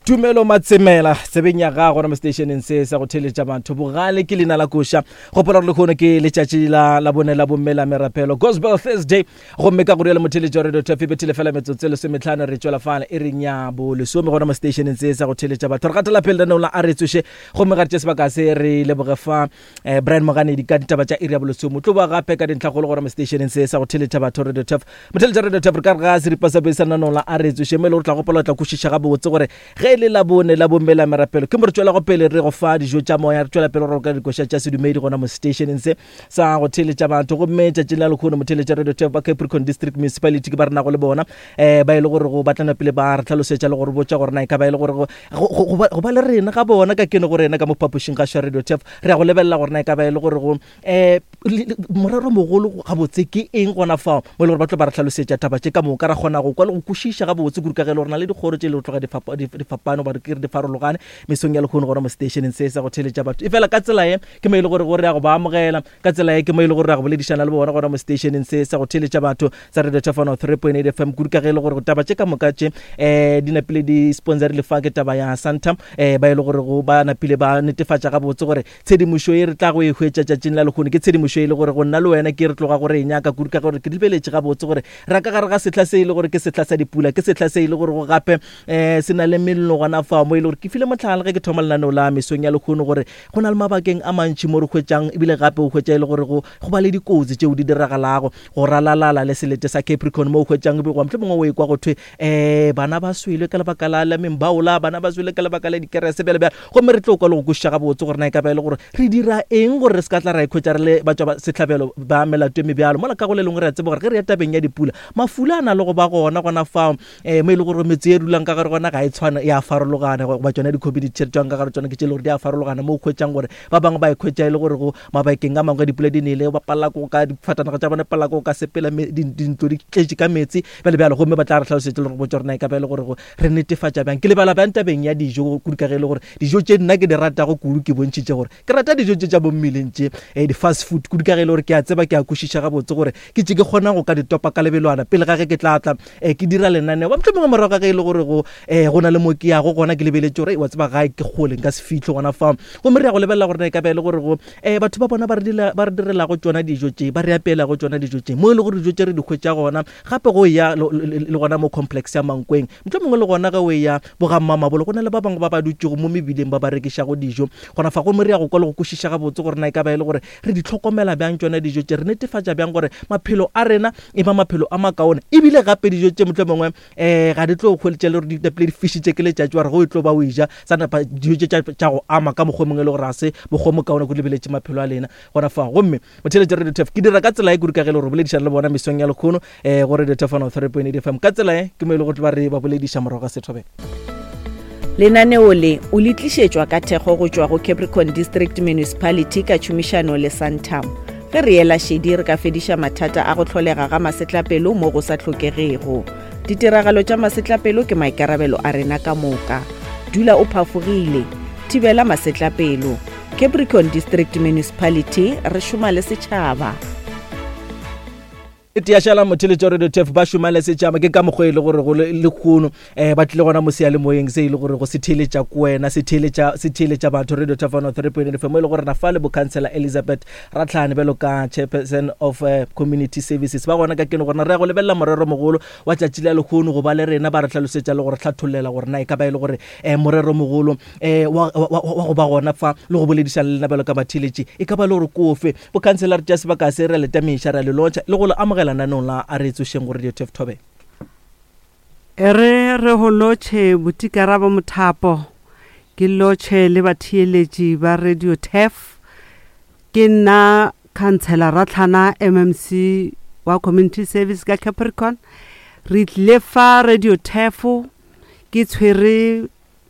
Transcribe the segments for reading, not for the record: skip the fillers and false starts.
Tumelo Matsemela tsebeng ya gago gona mo seteišeneng se sa go theletša batho bogale ke leina la koša. Gopola gore lehono ke letšatši la labone la bomme la merapelo, Gospel Thursday, gomme ka go rialo motheletši wa Radio Turf e bethile fela metsotso e lesometlhano re tšwela fale e reng ya bolesome gona mo seteišeneng se sa go theletša batho. Re gatela pele lenaneong la A Re Tsoše gomme ga re tše sebaka se re leboge fa eh, Brian Moganedi ka ditaba tša iri ya bolesome. O tlo boa gape ka dintlhakgolo gona mo seteišeneng se sa go theletša batho Radio Turf. Motheletša Radio Turf re ka re ga seripa sa pele sa lenaneong la A Re Tsoše mo e le gore tla gopola o tla kwešiša gabotse gore ge e le Labone la bomme la merapelo ke mo re tšwelago pele re go fa dijo tša moya, re tšwela pele go roka dikoša tša sedumedi gona mo seteišeneng se sa go theletša batho. Gomme tšatšing la lekgono motheletša Radio Turf ba Capricorn District Municipality ke ba re nago le bona um ba e le gore go batlana pele ba re tlhalosetša le go re botša gore na e ka ba e le gore go ba le rena ga bona ka kene go rena ka mo phapošing ga Radio Turf re ya go lebelela gore na e ka ba e le gore go um morero mogolo gabotse ke eng gona fao mo e le gore ba tlo ba re tlhalosetša taba tše ka moka ra kgona go kwa le go kwešiša gabotse kudu ka ge e le gore na le dikgoro tše e le go tloga di fapane goba ke re di farologane mesong ya lehono gona mo seteišeneng se sa go theletša batho. Efela ka tsela ye ke mo e le gore go re ya go ba amogela, ka tsela ye ke mo e le gore re ya go boledišana le bona gona mo seteišeneng se sa go theletša batho sa Radio Thefano 3.8 FM kudu ka ge e le gore taba tše ka moka tše um di napile di sponsorile fa ke taba ya Santam um ba e le gore go ba napile ba netefatša gabotse gore Tshedimošo ye re tlago e hwetša tšatšing la lehono ke tshedimošo e le gore go nna le wena ke re tloga go re e nyaka kudu ka gore ke lebeletše gabotse gore ra ka gare ga sehla se e le gore ke sehla sa dipula, ke sehla se e le gore go gape um se na le mello gona fao mo e le gore ke file mohlala ge ke thoma lenaneo la mesong ya lehono gore go na le mabakeng a mantši mo re hwetšang ebile gape o hwetša e le gore go go ba le dikotsi tšeo di diragalago go ralalala le selete sa Capricorn mo o hwetšang goba mohlomongwe o ekwa go thwe um bana ba swele ka lebaka la la membaola, bana ba swele ka lebaka la dikerese bjale bjale. Gomme re tlo kwa le go kwešiša gabotse gore na e ka ba e le gore re dira eng gore re se ka tla ra ikhwetša re le batšwa sehlabelo ba melato e mebjalo. Mola ka go le lengwe re a tseba gore ge re ya tabeng ya dipula, mafula a na le go ba gona gona fao um mo e le gore metse e dulang ka gare gona ga e tshwane, e a farologana, goba tšona di-community tše re tšwang ka gare tsona ke tše e le gore di a farologana, mo o hwetšang gore ba bangwe ba ikhwetša e le gore go mabakeng a mangwe dipula di nele ba palela ko ka difatanaga tša bona palela ko ka sepela dintlo di tletše ka meetse bjale bjalo. Gomme ba tla re hlalosetša le go botša gore na e ka ba e le gore re netefatša bjang. Ke lebala bjang tabeng ya dijo kudu ka ge e le gore dijo tše nna ke di ratago kudu ke bontšhitše gore ke rata dijo tše tša bo mmeleng tše eh, di-fast food kudu ka ge e le gore ke a tseba ke a kwešiša gabotse gore ke tše ke kgona go ka di topa ka lebelwana pele ga ge ke tla tla eh, ke dira lenaneo ba mohlomongwe morago ga ge e le gore go eh, go na le mo ke yago gona ke lebeletše gore wa tseba gae ke kgole nka se fihle gona fao. Gomme re ya go lebelela gore na e ka ba e le gore go eh, batho ba bona ba re direlago tšona dijo tše ba re apeelago tšona dijo tše mo e le gore dijo tše re di hwetša gona gape go eya le gona mo complex ya Mankweng mohlomongwe le gona ge o eya bogammamabolo go na le ba bangwe ba ba dutšego mo mebileng ba ba rekišago dijo gona fa. Gomme re ya go kwa le go kwešiša gabotse gore na e ka ba e le gore re di hlokomela bjang tšona dijo tše, re netefatša bjang gore maphelo a rena e ba maphelo a makaone, ebile gape dijo tše mohlomongwe um ga di tlo hweletša le gore di napile di fišitše ke letšatši wa re go e tlo ba o eja sa napa dijo tše tša go ama ka mokgwa o mongwe e le gore ga se mokgwa o mokaone ko lebeletše maphelo a lena gona fao. Gomme motheeletši Radio Turf ke dira ka tsela e kudu ka ge e le gore boledišana le bona mesong ya lekgono um go Radio Turf 103.8 FM ka tsela e ke mo e le go tlo ba re ba bolediša morago ga sethobela. Lenaneo le o le tlišetšwa ka thekgo go tšwa go Capricorn District Municipality ka tšhomišano le Santam. Ge re ela šedi re ka fediša mathata a go hlolega ga masetlapelo mo go sa hlokegego. Ditiragalo tša masetlapelo ke maikarabelo a rena ka moka. Dula o phafogile. Thibela masetlapelo. Capricorn District Municipality, re šoma le setšhaba. Tia šala motheletša Radio Turf ba šoma le setšhaba ke ka mokgwa e le gore go lekgono um ba tlile gona mo seyalemoyeng se e le gore go se theeletša ko wena se theeletša se theeletša batho Radio Turf 103.8 FM mo e le gore na fa le bokhansela Elizabeth Ratlhane bjalo ka chairperson of uh, community services ba gona ka keno gorena re ya go lebelela morero mogolo wa tšatši la lekgono go ba le rena ba re hlalosetša le gore hlathollela gore na e ka ba e le gore um morero mogolo um wa, wa, wa, wa go ba gona fa le go boledišana le lena bjalo ka batheeletši e ka ba le gore kofe Bokhansela re tšea sebaka se re a le tamiša, re a le lotšha le go le amogela naneong la A Re Tsošeng go Radio Turf Thobela. E re re go lotšhe Botikarabo Mothapo, ke lotšhe le batheeletši ba Radio Turf. Ke nna Khansela Ratlhana MMC wa Community Service ka Capricorn. Re tlile fa Radio Turf ke tshwere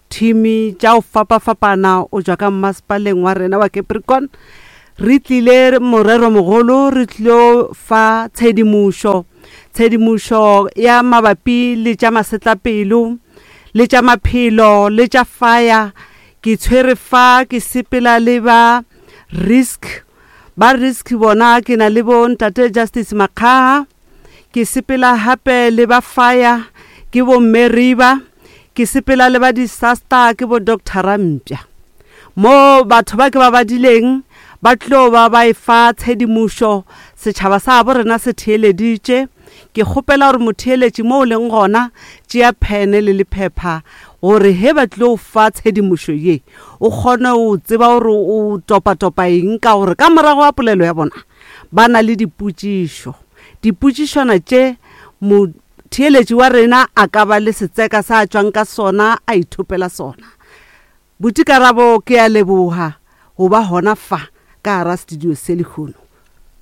Thimi tša go fapafapana o tšwa ka mmasepaleng wa rena wa Capricorn. Re tlile moreromogolo re tlilo fa tshedimošo, tshedimošo ya mabapi le tša masetlapelo le tša maphelo le tša fire. Ke tshwere fa ke sepela le ba risk, ba risk bona ke na le bo ntate Justice Makgaha. Ke sepela gape le ba fire, ke bo Mme Riba. Ke sepela le ba disaster ke bo Doctor Rampja. Mo batho ba ke ba badileng ba tlo ba ba efa tshedimošo, setšhaba sa bo rena se theeleditše. Ke kgopela gore motheeletši mo o leng gona, tšea phene le lephepha gore ge ba tlilo fa tshedimošo ye, o kgone go tseba gore o topatopa eng ka gore ka morago ga polelo ya bona ba na le dipotšišo. Dipotšišwana tše motheeletši wa rena a ka ba le setseka sa a tšwang ka sona a ithopela sona. Buti Karabo, ke a leboga go ba gona fa ka gara studio se lehono.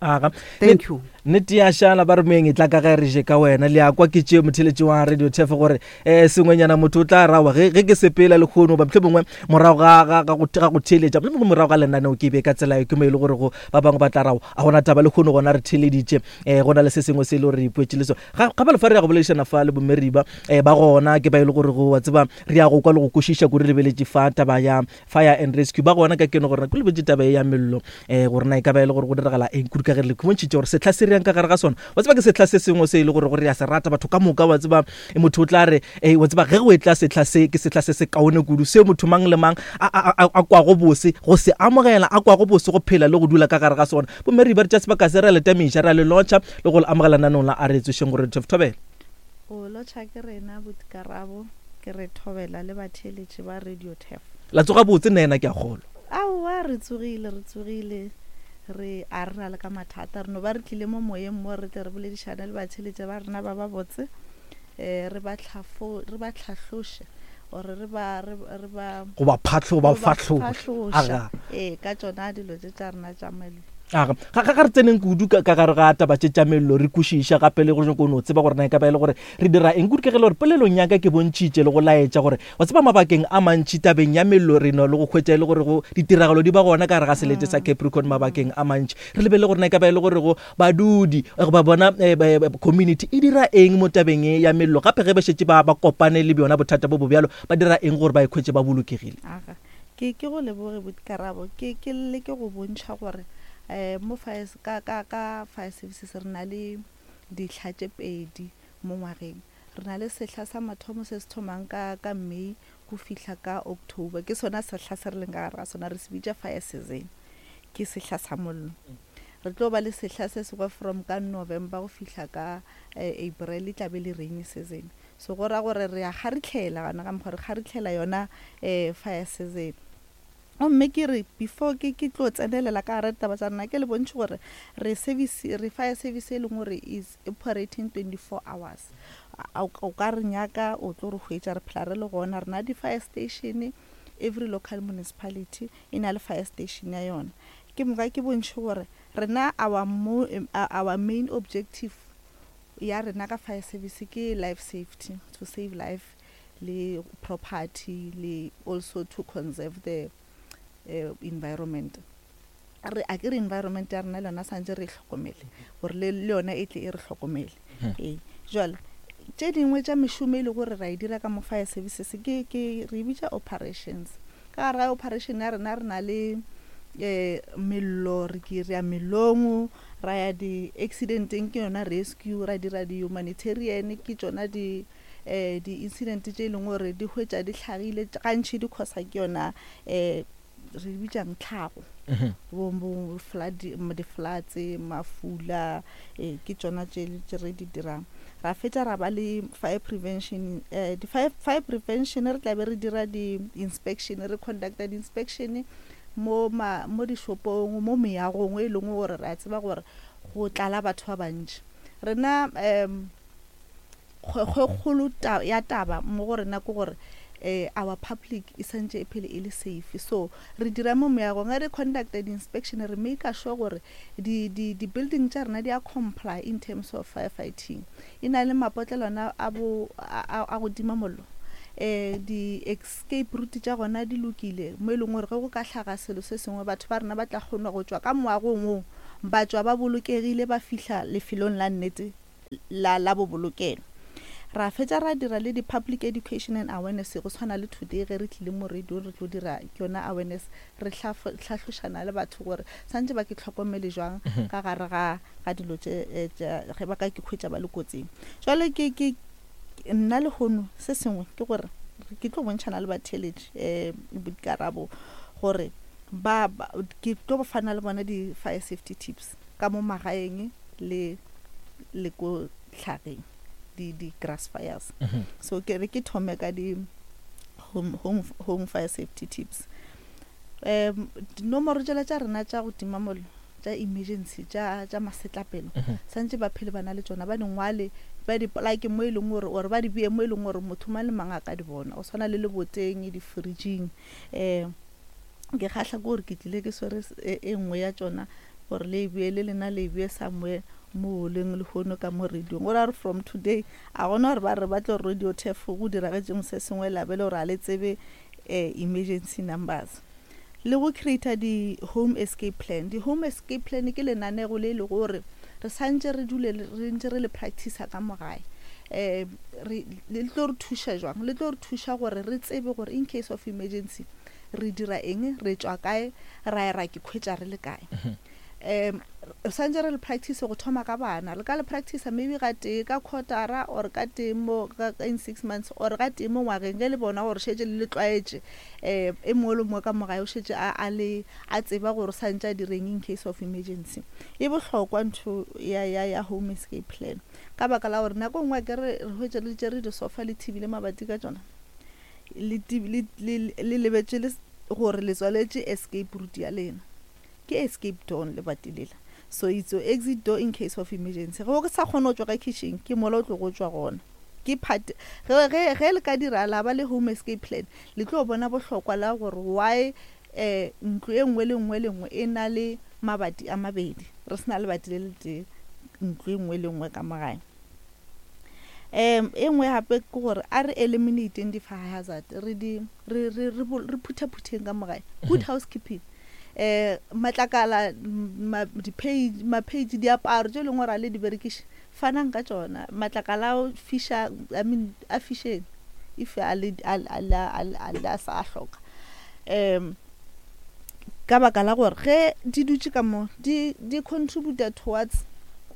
Aga. Thank you. Nnete ya šala ba re moeng e tla ka ge re je ka wena. Le a kwa ke tšeo motheletši wa Radio Turf gore eh sengwenyana motho o tla rawa ge ge ke sepela lehono ba mohlomongwe morago ga ga ga go ga go theeletša mohlomongwe morago ga lenaneo ke be ka tsela e ke mo e le gore go ba bangwe ba tla rawa a gona taba lehono gona re theeleditše eh go na le se sengwe se e le gore re ipoetše le sona. Ga ga ba le fa re ya go boledišana fa le boMeriba eh ba gona ke ba e le gore go wa tseba Re ya go kwa le go kwešiša kudu re lebeletše fa taba ya Fire and Rescue. Ba gona ka keno gore ko lebetše taba ye ya mello um gore na e ka ba e le gore go diragala eng kudu ka ge re le khumontšhitše gore sehla se re yang ka gare ga sona. Wa tseba ke sehla se sengwe se e le gore gore re a se rata batho ka moka wa tseba motho o tla re e wa tseba ge go etla sehla se ke sehla se se kaone kudu seo motho mang le mang a, a, a, a kwago bose go se amogela a kwago bose go phela le go dula ka gare ga sona. Bomme re ba re tša sebaka se re a le tamiša re a le lotšha le go le amogela nanong la a re tsošeng gore thobela. Go lotšha ke rena buti Karabo, ke re thobela le batheeletši ba Radio Turf. La tsoga botse nna ke a kgolwa. Aowa re tsogile, re tsogile, re a re na le ka mathata. Re no ba re tlile mo moyeng mo re tle re boledišane le batheeletši ba rena ba ba botse, um re ba hlafo, re ba hlahloše or re ba, re, re ba. Go ba phahlo, ba fahloša. Aga. Ee, ka tšona dilo tše tša rena tša mello. Aga, ga, ga, ga re tseneng kudu ka, ka gare ga taba tše tša mello, re kwešiša gape le go nyako no tseba gore na e ka ba e le gore re dira eng. Kudu ka ge le gore polelong ya ka ke bontšhitše le go laetša gore wa tseba mabakeng a mantši tabeng ya mello re no le go hwetša e le gore go ditiragalo di ba gona ka gare ga selete sa Capricorn mabakeng a mantši. Re lebelele gore na e ka ba e le gore go badudi goba bona community e dira eng mo tabeng ye ya mello, gape ge ba šetše ba, ba kopane le bjona bothata bo bo bjalo ba dira eng gore ba ikhwetše ba bolokegile. Aga. Ke, ke go leboge buti Karabo. Ke, ke leke go bontšha gore um mo fire, ka, ka, ka fire services re na le dihla tše pedi mo ngwageng. Re na le sehla sa mathomo se se thomang ka, ka May go fihla ka October. Ke sona sehla se re leng ka gare ga sona, re se bitša fire season. Ke sehla sa mollo. Re tlo ba le sehla se sengwe from ka November go fihla ka April, e tla be e le rainy season. So go ra gore re a kgaritlhela gona ka mokgwa re kgaritlhela yona um fire season. Gomme ke re before ke ke tlo tsenelela ka gare ditaba tša rena ke le bontšhe gore re service re fire service e leng gore is operating 24 hours. O ka re nyaka o tlo re hwetša re phela re le gona re na di-fire station every local municipality e na le fire station ya yona. Ke moka ke bontšhe gore rena our, our main objective ya rena ka fire service ke life safety, to save life le property le also to conserve the uh, environment. Re a ke re environment ya rena le yona santse re e hlokomele gore le le yona e tle e re hlokomele. Hmm. Ee, jwale tše dingwe tša mešomo e le gore ra e dira ka mo fire services ke ke re e bitša operations. Ka gare ga operation ya rena re na le eh mello re ke re ya mellong ra ya di-accidenteng ke yona rescue ra dira di-humanitarian ke tšona di um di-incident tše e leng gore di hwetša di hlagile gantši di causa ke yona um re bitsang tlhago mhm. bo flood di-floods mafula eh, ke tšona tše re di dirang ra fetša ra ba le fire prevention eh, di fire, fire prevention re tla be re dira di-inspection re conducta di-inspection mo ma mo dishopong mo meagong e leng gore re a tseba gore go tlala batho ba bantši rena um kgwekgolo ya taba mo go rena ke gore eh, our public e santše e phele e le safe so re dira mo meagong ge re conducta di-inspection re make sure gore di-building tša rena di a comply in terms of firefighting e na le mapotlelwana a bo a go tima mollo um di-escape route tša gona di lokile mo e leng gore ge go ka hlaga selo se sengwe batho ba rena ba tla kgona go tšwa ka moagong woo ba tšwa ba bolokegile ba fihla lefelong la nnete la la bobolokelo. Ra fetša ra dira le di-public education and awareness go tshwana le today ge re tlile mo radio re tlo dira ke yona awareness re hlahlošana le batho gore santše ba ke tlhokomele jwang mhm. ka gare ga ga dilo tše eh, ge ba ka ke khwetša ba le kotsing. Jwale ke ke nna lehono se sengwe ke gore Ke tlo bontšhana le batheeletši um boikarabo gore ba, ba ke tlo fana le bona di-fire safety tips ka mo magaeng le le ko tlhageng di di grass fires. So ke re ke thome ka di home, home, home fire safety tips. Um dinomoro tšela tša rena tša go tima mollo tša emergency tša tša masetlapelo santše ba phele ba na le tšona, ba di ngwale, ba di polake mo e leng gore, or ba di bee mo e leng gore motho mang le mang a ka di bona, go swana le leboteng, di-fridging. Um ke kgahla ke gore ke tlile ke swere e nngwe ya tšona gore le e bee le lena, le e bee somewhere mo leng lehono ka mo radiong, gore a re from today a gona gore ba re ba tlo radio turf go diragetšeng se sengwe la be le gore a le tsebe emergency numbers. Le go creata di-home escape plan. Di-home escape plan ke lenanego le e le gore re santše re dule re ntše re le practice ka mo gae. Um re le tlo re thuša jwang? Le tlo re thuša gore re tsebe gore in case of emergency re dira eng, re tšwa kae, ra ya ra ke khwetša re le kae. Um re santše re le practice go thoma ka bana. Le ka le practice maybe ga tee ka quartera or ka tee mo in 6 months or ga tee mo ngwageng, ge le bona gore šetše le le tlwaetše. Um e mongwe le mongwe ka mo gae o šetše a a le a tseba gore o santše a direng in case of emergency. E bohlokwa ntho ya ya ya home escape plan, ka baka la gore nako e nngwe akere re hwetše le tšere disofa le thibile mabati ka tšona, le le le le lebetše le gore le tswaletše escape route ya lena. Ke escape door lebati lela, so it's your exit door in case of emergency. Ge o sa kgone go tšwa ka kitchen, ke mola o tlo go tšwa gona. Ke part ge ge ge le ka dira la ba le home escape plan, le tlo bona bohlokwa la gore why um ntlo e nngwe le nngwe le nngwe e na le mabati a mabedi, re se na lebati le le tee ntlo e nngwe le nngwe ka mo gae. Um e nngwe gape ke gore a re eliminateng di-fire hazard, re di re re re re phutha-phutheng ka mo gae. Good housekeeping. Um matlakala, di-page, ma-page, diaparo tše e leng gore a le di berekiše, fanang ka tšona. Matlakala a fiša, I mean a fišeng if a le a a a sa hloka. Um ka baka la gore ge di dutše ka mo di di contributa towards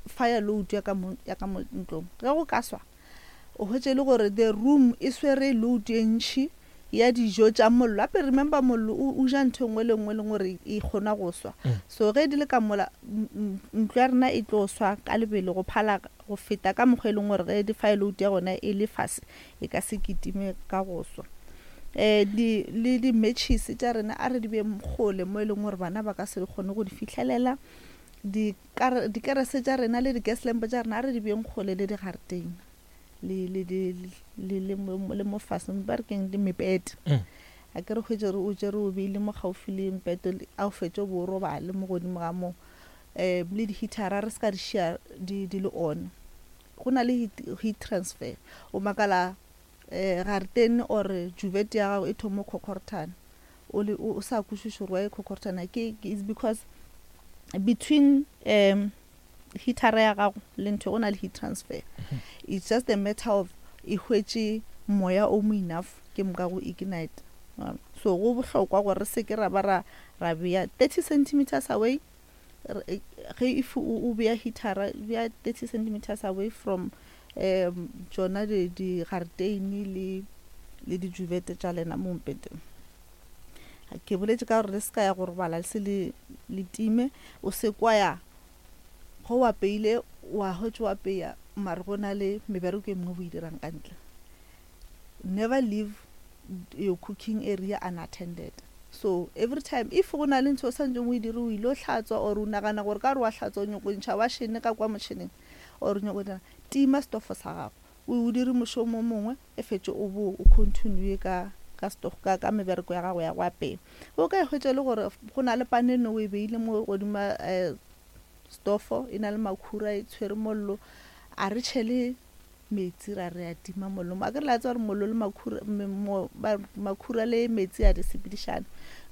fire load ya ka mo ya ka mo ntlong. Ge go ka swa o hwetše e le gore the room e swere load e ntši ya dijo tša mollo. Gape remember mollo o ja ntho e nngwe le nngwe e leng gore e kgona go swa. So ge di le ka mola ntlo ya rena e tlo swa ka lebelo go phala go feta ka mokgwa e leng gore ge di-fire load ya gona e le fase e ka se kitime ka go swa. Um di le di-matches tša rena a re di beng kgole mo e leng gore bana ba ka se kgone go di fihlelela. Dikerese tša rena le di-gas lamp tša rena a re di beng kgole le digaretene le le le le le mo fase, ba re keng, le mepete. A ke re hwetše re o tšere o beile mo gaufi le mpete, a o fetše o bo o robale mo godimo ga moo. Um le di-heatera re se ka di šia di di le on, go na le heat, heat transfer. O makala um garetene or juvet ya gago e thoma go khokhoruthana, o le o sa kwešiše gore why e khokhoruthana. Ke is because between um heatera ya gago le ntho go na le heat transfer. It's just a matter of e hwetše moya o mo enough ke moka go ignite. So go bohlokwa gore re se ke ra ba ra ra bea 30 centimeters away. Ge if o bea heatera, bea 30 centimeters away from um tšona digareteine le le dijuvete tša lena mo mpeteng. Ke boletše ka gore le se ka ya go robala le se le le time. O se kwa ya go o apeile, wa hwetša o apeya mare go na le mebereko e mengwe o e dirang ka ntle. Never leave your cooking area unattended. So every time if go na le ntho o santšeng o e dire, o ile o hlatswa or o nagana gore ka gore wa hlatswa o nyako ntšha wašene ka kwa motšheneng or o nyako dira, tima stofo sa gago o dire mošomo o mongwe, e fetše o bo o continue ka ka stofo ka ka mebereko ya gago ya go apeya. O ka e hwetša e le gore go na le pane no o e beile mo godima stofo, e na le makhura, e tshwere mollo, a re tšhele metsi ra re a tima mollo. Akere la tseba gore mollo le makhura, makhura le metsi a di sepedišane.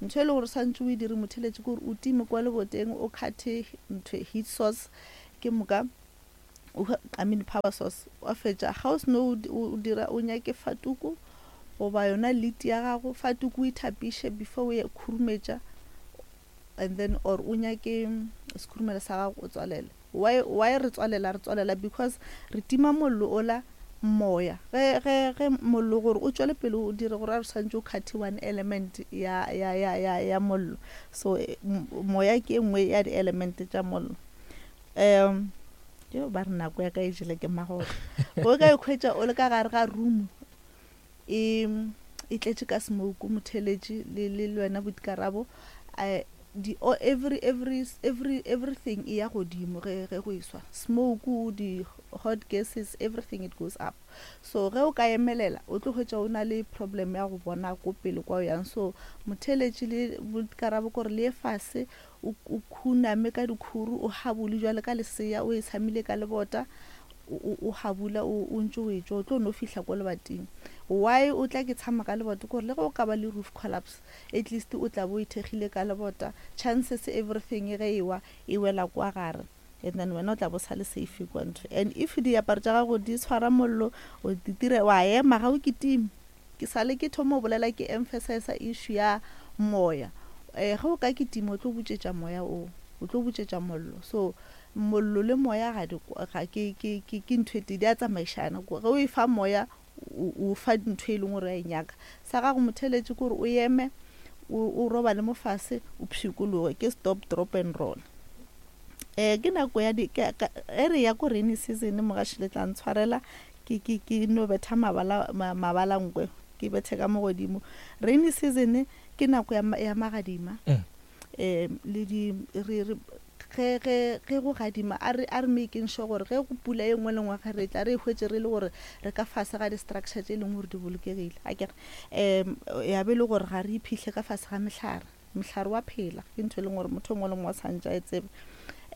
Ntho e le gore o santše o e dire motheletši ke gore o time kwa leboteng, o cut-e ntho heat source, ke moka I mean power source. Wa fetša ga o seno o dira, o nyake fatuku goba yona lid ya gago, fatuku o e thapiše before o e khurumetša, and then or o nyake sekhurumelo sa gago o tswalele. Why, why re tswalela? Re tswalela because re tima mollo ola Moya, ge, ge, ge mollo gore o tšwele pele o dire gore a re swantše o kgathe one element ya, ya, ya, ya, ya mollo. So moya ke e nngwe ya di-element tša mollo. Um yo ba re nako ya ka e jele ke magotlo. O ka ikhwetša o le ka gare ga room e e tletše ka smoke, motheletši le le le wena boikarabo eh, di o every every every everything e ya godimo ge ge go iswa smoke di hot gases everything it goes up. So ge o ka emelela o tlo hwetša o na le problem ya go bona ko pele kwa o yang. So motheletši le boikarabo kore le ye fase o o khuname ka dikhuru o habole jwale ka lesea o e tshamile ka lebota o o habula o o ntše o etšwa o tlo no fihla ko lebating. Why o tla ke tshama ka lebota? Ke gore le ge o ka ba le roof collapse at least o tla bo o ithekgile ka lebota, chances everything ge e wa e wela kwa gare and then wena o tla bo sa le safe kwa ntho. And if diaparo tša gago di tshwara mollo o di tira wa ema ga o kitime. Ke sale ke thoma go bolela ke emphasize issue ya moya. Ge o ka kitima o tlo butšetša moya o, o tlo butšetša mollo. So mollo le moya ga di ga ke ke ke ke ntho e tee, di a tsamaišana. Ge o e fa moya o o fa ntho e leng gore o a e nyaka. Sa gago motheeletši ke gore o eme o o robale mo fase o pshikologe, ke stop, drop and roll. Ke nako ya di ge re ya ko rainy season mogaši le tla ntshwarela ke ke ke no betha mabala mabala nkwe ke bethe ka mo godimo. Rainy season ke nako ya ya magadima le di re re ge ge ge go gadima a re a re making sure gore ge go pula e nngwe le nngwe ge re tla re e hwetše re le gore re ka fase ga di-structure tše e leng gore di bolokegile akere. Ya be e le gore ga re iphihle ka fase ga mehlare. Mohlare wa phela ke ntho e leng gore motho o mongwe le mongwe o santše a e tsebe.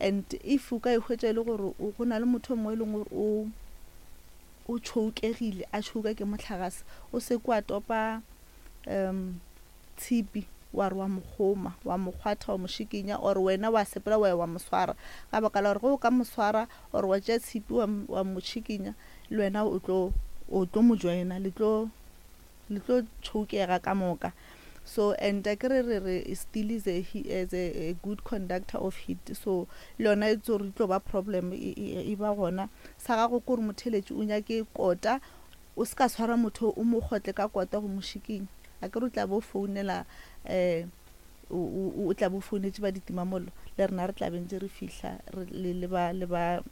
And if o ka e hwetša e le gore go na le motho o mongwe e leng gore o o tšhoukegile a tšhouka ke mohlagase, o se ke wa topa um tshipi wa re wa mo kgoma, wa mo kgwatha, wa mo šikinya or wena wa sepela wa ya wa mo swara. Ka baka la gore ge o ka mo swara or wa tšea tshipi wa wa mo šikinya le wena o tlo o tlo mo joina le tlo le tlo tšhoukega ka moka. So and akere re re steel is a, is a, a good conductor of heat, so le yona e tso re tlo ba problem e, e, e ba gona. Sa gago ke gore motheletši o nyake kota, o se ka tshwara motho o mo kgotle ka kota go mo šikinya. Akere o tla bo founela um o tla bo founetše ba ditimamollo, le rena re tla be ntse re fihla le le ba le ba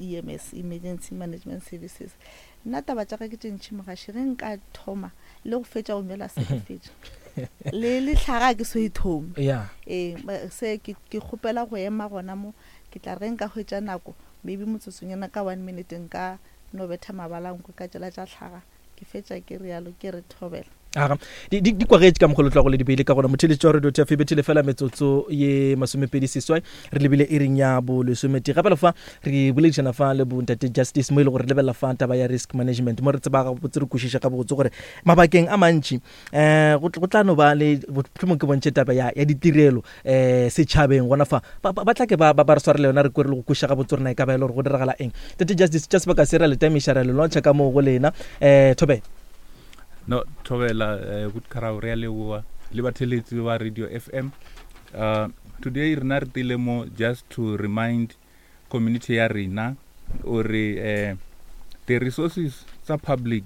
EMS, Emergency Management Services. Nna taba tša ka ke tše ntši mogaši, ge nka thoma le go fetša go nwela se ke fetša. Le le hlaga ke so e thome. Yeah. Ee, se ke ke kgopela go ema gona mo, ke tla re ge nka hwetša nako maybe motsotsonyana ka one minute nka no betha mabala nkwe ka tšela tša hlaga. Ke fetša ke realo ke re thobela. Aga, di, di, di kwagetše ka mokgwa lo tlago le di beile ka gona. Motheeletši wa Radio TF e bethile fela metsotso ye masomepedi seswai, re lebile iring ya bolesometee. Gape le fa re boledišana fa le bontate Justice mo e le gore re lebelela fa taba ya risk management, mo re tseba gabotse re kwešiša gabotse gore mabakeng a mantši um go tla no ba le mohlomong ke bontšhe taba ya, ya ditirelo um setšhabeng gona fa ba, ba, ba tla ke ba, ba, ba re swarele yona re kwere le go kwešiša gabotse gore na e ka ba e le gore go diragala eng. Tate Justice, tša sebaka se ra le tamiša ra le lwantšha ka moo go lena. Um thobela. No, thobela eh, good karabo re a leboa le batheletsi ba Radio FM. Today rena re tile mo just to remind community ya rena ore eh, the resources tsa public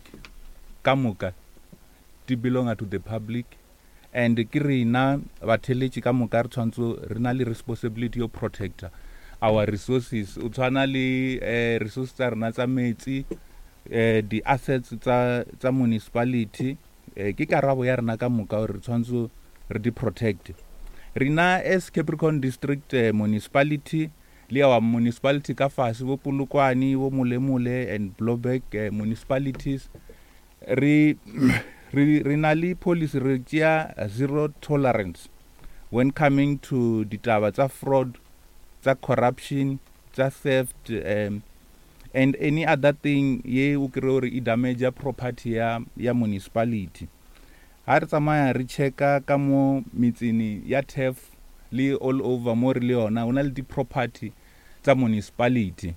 ka moka di belonga to the public and ke rena batheletši ka moka re tshwanetse re na le responsibility yo protector our resources. O tshwana le eh, resources tsa rena tsa metsi, eh, di-assets tsa, tsa municipality, eh, ke karabo ya rena ka moka gore re tshwanetse re di protect. Rena as Capricorn District eh, Municipality le our municipality ka fase bo Polokwane, bo Molemole and Blouberg eh, municipalities, re re re na le policy, re tšea zero tolerance when coming to ditaba tsa fraud, tsa corruption, tsa theft, and any other thing ye o kry gore e damage property ya ya municipality. Ha re tsamaya re checka ka mo metsene ya turf le all over mo re le yona, go na le di-property tsa municipality.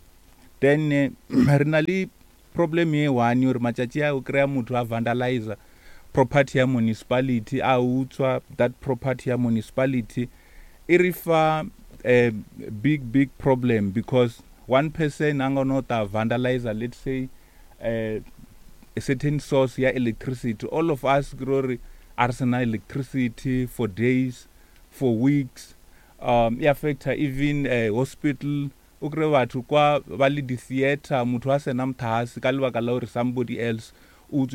Then re na le problem ye one gore matšatši a o kry-a motho a vandalizer property ya municipality, a utswa that property ya municipality. E re fa a big big problem because one person a nga no ta vandalizer, let's say uh, a certain source ya electricity. All of us ke ro re a re sena electricity for days, for weeks. E affecta even hospital. O kry batho kwa ba le di-theatre, motho a sena mothahase ka lebaka la gore somebody else